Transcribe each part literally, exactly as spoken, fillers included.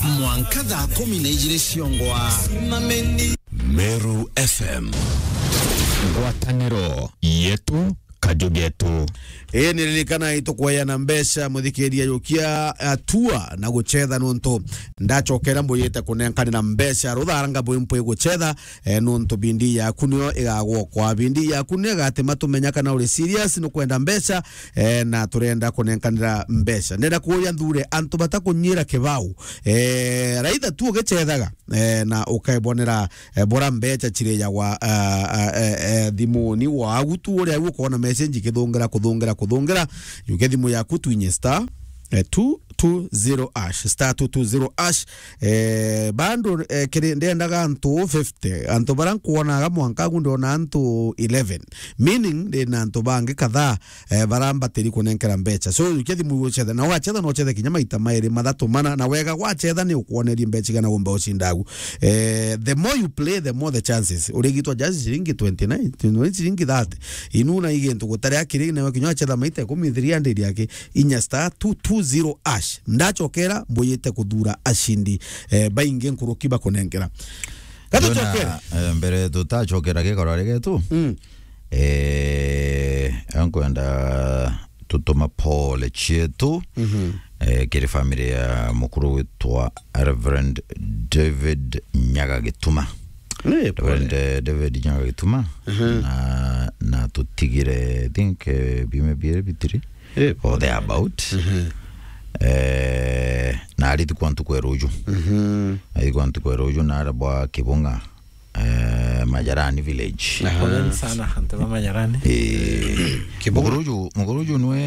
Mwanka thaa kumi na ijiri ciongwa. Meru F M. Ngwataniro yetu, kaju getu. Ii, niririkana itukweana mbeca, muthikiria, yukia atua na gucetha, nontu ndacokera mbuyite kunenkanira mbeca rutharanga bwi mpwi gucetha, eh, nontu bindi yaku niyo igagwokwa. Bindi yaku niyo igatima tumenya kana uri serious, nukwenda mbeca, eh, na turenda kunenkanira mbeca. Ndenda kuuria nthure antu batakunyira kibau, eh, raitha tu ugicethaga, eh, na ukebonera, eh, bora mbeca ciriyagwa, ah, ah, eh, eh, thimuni wagu tu, uria au ukona message ikithungira, kuthungira, kuthungira, yuke thimu yaku twinye star, eh, two two zero hash, star two two zero hash. Eh, bando, eh, kiri, ndendaga antu fifty, antu bara nkwonaga mwanka agu ndona antu eleven, meaning ndina antu bangi kadhaa, eh, bara mbatiri kunenkera mbeca. So, yukia thimu ucethe, na wacetha no uchethe kinya maita mairi, mathatu, mana, na wega gwacetha ni ukwonerie mbeca igana umba ucinda agu. Eh, the more you play, the more the chances. Urigitwa just ciringi twenty-nine, twenty-nine, ciringi thirty. Inuna igintu gutari akiri, na kinya wacetha maita ikumi, three hundred yake, inya star two two zero hash. Ndacokera, mbuyite kuthura acindi, eh, baingi nkuruki bakunenkera. Katucokere. Ndona, eh, mbere tutacokera gikoro ari getu. Mm. Eh, nkwenda tutuma pole cietu, mhm, eh, kiri family ya mukuru witwa Reverend David Nyaga Gituma. Eh, pole. Reverend, eh, David Nyaga Gituma. Mhm. Na, na tutigire, I think, eh, biumia biiri bitiri, eh, or pole, thereabout. Mhm. Eh, na arithikwa ntuku ya ruju. Mhm. Arithikwa ntuku ya ruju na ara bwa Kibunga, eh, Majarani village. Aha. Poleni sana, antu ba Majarani. Eh, Kibunga. Mukuru uju, mukuru uju nwe,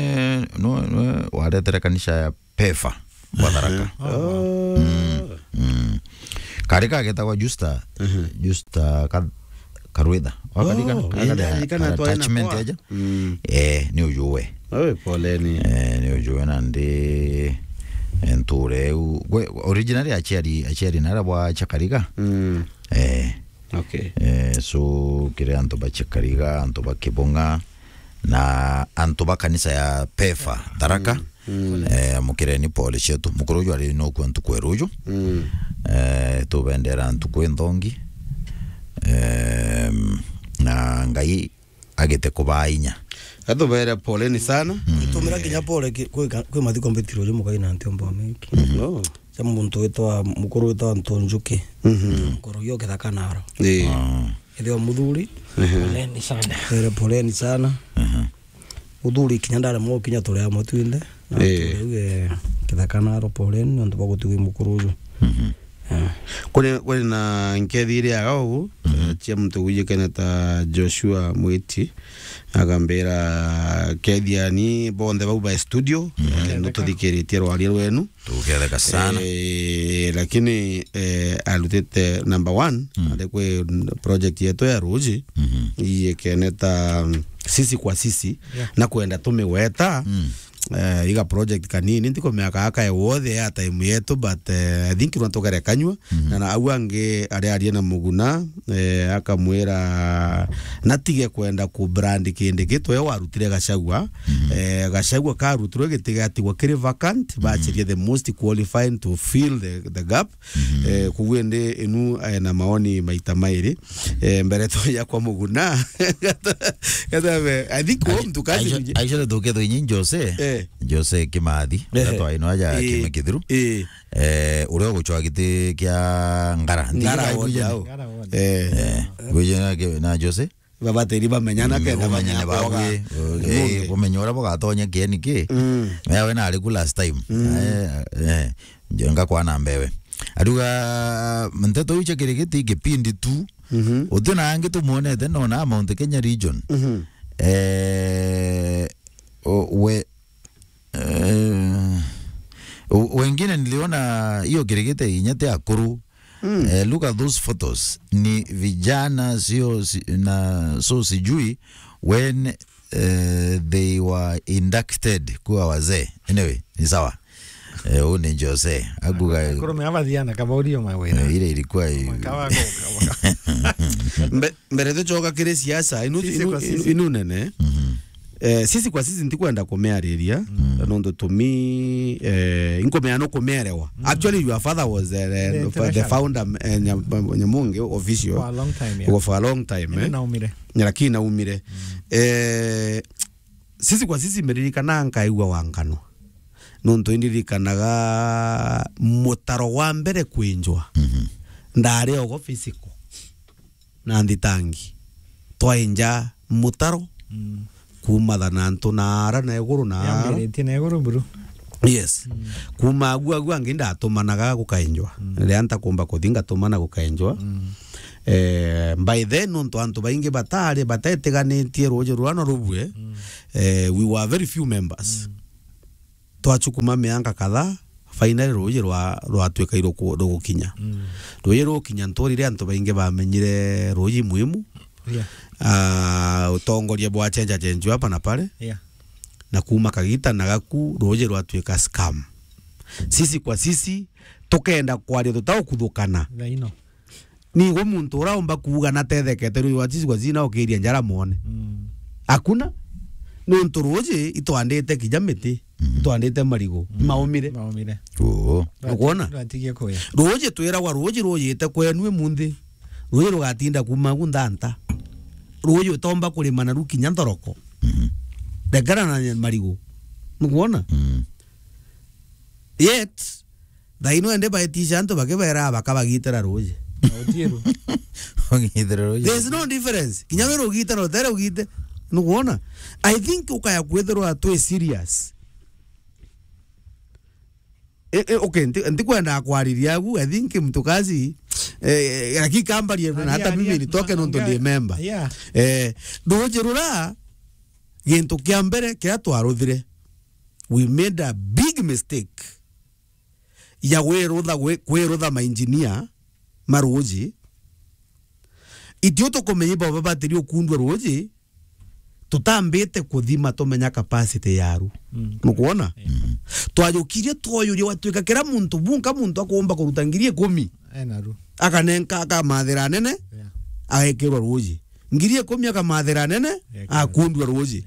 nwe, nwe waretere kanisa ya Pefa, Batharaka. Aha. Oh. Mm, mm. Kari kagetagwa Justa, mhm, Justa ka-, Karwitha. Wakarika? Oh, kari, enda, kari, ikana kari twae na attachment kwa. Eja. Mm. Eh, ni uju we. Oe, poleni. Eh, ni uju we nandi, eh, nture eu. Gwe, originally aciari, aciari nara bwa Chakarika. Mm. Eh. Okay. Eh, so, kiri antu ba Chakariga, antu ba Kibunga, na antu ba kanisa ya Pefa, Tharaka. Mm. Mm. Eh, mukireni pole cietu. Mukuru uju ari no kua ntuku ya ruju. Mm. Eh, tubendera ntuku inthongi. Em, na Ngai agite kubaa inya. Atubere poleni sana. Mm. Tumira kinya pole ki-, kwi ka-, kwi mathiko mbitiro ri mukai na ntiomba meki. Mm. Oh. Cia muntu witwa, mukuru witwa Ntunjuki. Mhm. Mukuru yo kithaka naro. Ii. Ah. Ithio muthuri. Mhm. Poleni sana. Ere poleni sana. Mhm. Muthuri kinya ndare mo kinya turi amwe twinthe. Na ii. Turi uge kithaka naro poleni, nontu bwa gutigwi mukuru uju. Mhm. Eh. Kuri, kuri na nkethi iri aga ugu, mhm, eh, cia muntu wijikene ta Joshua Mwiti, agambira, "Kethiani bonthe bau ba studio, mhm, eh, nututhikiritie rwaria rwenu." Tuketheka sana. Eh, lakini, eh, arutite number one, mm, ari kwi project yetu ya ruji, mhm, iyikene ta, mm, sisi kwa sisi, yeah, na kwenda tumiweta, mm. Eh, iga project kanini, ntiko miaka aka ya wothe ya time yetu, but, eh, I think no tugere kanyua, mhm, na, na au angi ari arie na Muguna, eh, akamwira natige kwenda ku brand kindi gitu, we warutire Gachagua, mhm, eh, Gachagua karutirwe giti gatigwa kiri vacant, mhm, bachirie the most qualified to fill the, the gap, mhm. Eh, koguo indi inu, eh, na maoni maita mairi. Eh, mbere tuya kwa Muguna. Gatabe, I think wo mtu kazi actually, actually, tukethwa inyi Jose. Eh. Jose Kimathi. Eh. Gatwa ino aja, eh, Kimi Kithiru. Eh. Eh, uria ugucwa giti kia Ngara. Ngara ward au. Ngara ward. Eh. Eh. Gwije na ki-, na Jose? Babatiri bamenyana kenda bamenyane bamenya bagwe, eh, bamenye uria bugatonya kieni ki. Mm. Mewe nari ku last time. Mm. Eh, eh, nje ngakwana mbewe. Aruga, nteto iu cia kirigiti kipindi tu. Mhm. Uti na angi tumwonete, nona Mount Kenya region. Mhm. Eh, o-, we, Eh, u-, wengine niliona hiyo kirigite inya ti akuru. Mm. Eh, look at those photos. Ni vijana, sio si-, na so sijui when, eh, they were inducted kuwa wazee. Anyway, ni sawa. Eh, u ni Jose. Akuga akuru me abathiana kabaurio mawira. Eh, ile ilikuwa i- Mwaka wa goka. Mbe-, mbere tucoka kiri siasa, inu, sisi inu, kwa sisi. Inu, inu nene. Mhm. Eh, sisi kwa sisi ntikwenda kumeariria, mm, nontu tumi, eh, inkumea no kumerewa. Mm. Actually, your father was, eh, the, the founder, eh, Nya-, Nyamungi official. For a long time, yeah. For a long time, eh. Naumire. Lakini naumire. Mm. Eh, sisi kwa sisi meririkana nkaigua wa ngano. Nontu indiririkanaga mutaro wa mbere kwinjwa. Mhm. Ndari ogo physical. Na nthitangi. Twainja mutaro, mm, kuuma thanantu na ara na iguru na ara. Yambiritie na iguru buru. Yes. Mm. Kuuma agu, agu angi ndatumanaga gukainjwa. Mm. Riria ntakumba kuthi ngatumana gukainjwa. Mm. Eh, by then, nontu antu baingi batari, batetiganitie ruuji rura no rubue, mm, eh, we were very few members. Mm. Twachukuma mianga kadhaa, finally ruuji rwa-, rwatwika iruku-, rugukinya. Mm. Ruuji rugukinya, nturire antu baingi bamenyire ruuji muhimu. Yeah. Ah, utongoria bwa chenja chenju hapa na pale. Yeah. Na kuuma kagita na gaku, ruuji rwatwika scam. Sisi kwa sisi, tukenda kwaria tutaukuthukana. Thaino. Nigo muntu uraumba kuuga natethekete ruuji rwa Sisi kwa Sisi na ukiria njara mwone. Mm. Hakuna. Nontu ruuji itwandite kinya miti, mm, itwandite marigu, mm, maumire. Maumire. Oo. Nukwona? Rwatigie kuya. Ruuji twiragwa ruuji ruyite kwenu imunthi. Ruuji rugatinda kuuma gu nthanta. Ruuji utomba kurima naru kinya nthoroko. Mhm. Rekana na marigu. Nukwona? Mm. Yet, thaino ende baetisha antu bakibera bakabagitira ruuji. Na utiru. Ugitira ruuji. There's no difference. Kinya we rugite na utere ugite. Nukwona? I think ukaya kwithirwa twi serious. Eh, eh, okay, nti-, ntikwenda kwariria agu. I think mtukazi, eh, eh, lakini kambarie na hata mimi nitoke nontu ndi member. Yeah. Eh, ruuji rura, gintu kia mbere kiria twaruthire, we made a big mistake ya gwirutha, gwi-, kwirutha mainjinia ma ruuji. Itio tukumenya ibo babatiri ukundua ruuji, tutambite kuthima tumenya capacity yaru. Mm. Nukwona? Yeah. Mm. Twajukirie twoyuria watwika kira muntu bunka muntu akumba kuruta ngiri ikumi. Enaru. Akanenka akamathira nene, yeah, agekirwa ruuji. Ngiri ikumi akamathira nene, yeah, akundua ruuji.